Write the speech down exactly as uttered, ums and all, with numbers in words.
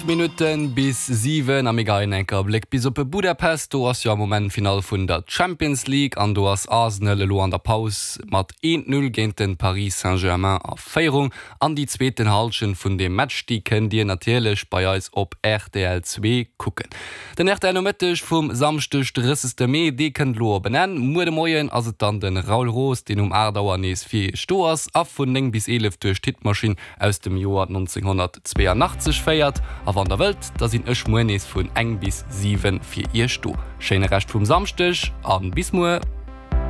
Minutten bis siwen a mir geien enker Bléck bis op Budapest. Do ass jo am Moment Finall vun der Champions League an do ass Arsenal elo an der Paus mat eent Null géint den Paris Saint-Germain a Féierung. An déi zweeten Hallschent vun deem Match, déi kënnt dir natierlech bei eis op rtl zwee kucken. Den rtl Nomëtteg vum Samschdeg drëssegste Mee, dee kënnt elo op en Enn. Muer de Moien ass et dann de Raoul Roos, deen um aacht Auer nees fir iech do ass a vun néng bis eelef duerch d'Hitmaschinn aus dem Joer nonzénghonnertzweeanachtzeg féiert. A wann der wëllt, da sinn ech muer nees vun eng bis siwen fir iech do. Schéine Rescht vum Samschdeg an bis muer!